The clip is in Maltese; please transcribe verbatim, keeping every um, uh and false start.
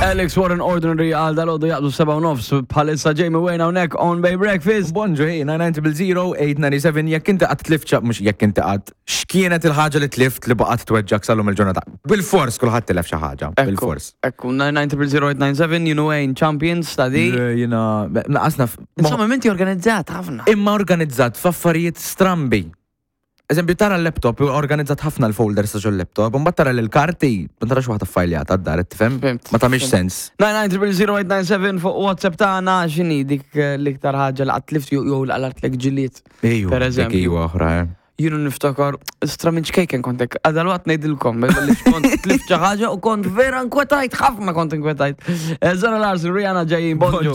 Alex Warren Ordinary għal dalgħodu jaqbdu seba' u nofs bħalissa Jamie Wayne hawnhekk on Bay Breakfast. Bonġu, hey, nine nine zero zero eight nine seven, jekk inti qatt tlift xi, mhux jekk inti qatt, x'kienet il-ħaġa li tlift li baqgħet tweġġak sal-lum il-ġurnata? Bil-fors kulħadd tilef xi ħaġa, bil-fors. Ekku, nine nine zero zero eight nine seven, you know Wayne Champions ta' di. Jiena, naqasna. Insomma, minti organizzat ħafna. Imma organizzat f'affarijiet strambi. Eżempju, tara l-laptop, organizzat ħafna l-folders ta' ġol-laptop, u mbagħad tara l-karti, ma tarax waħda fajljata d-dar, tifhem? Fhimt. Ma tagħmilx sens. nine nine zero zero eight nine seven fuq WhatsApp tagħna, x'inhi dik eh, l-iktar ħaġa li qatt tlift jew jew l-qalgħetlek ġilied? Ejju, Per eżempju. Dik iwa oħra, eh. Jienu niftakar, istra minn ċkejken kontek, għadal waqt ngħidilkom, li kont tlift xi ħaġa u kont vera nkwetajt, ħafna kont inkwetajt. Eh, Zara Larsson, Rihanna ġejjin, bonġu.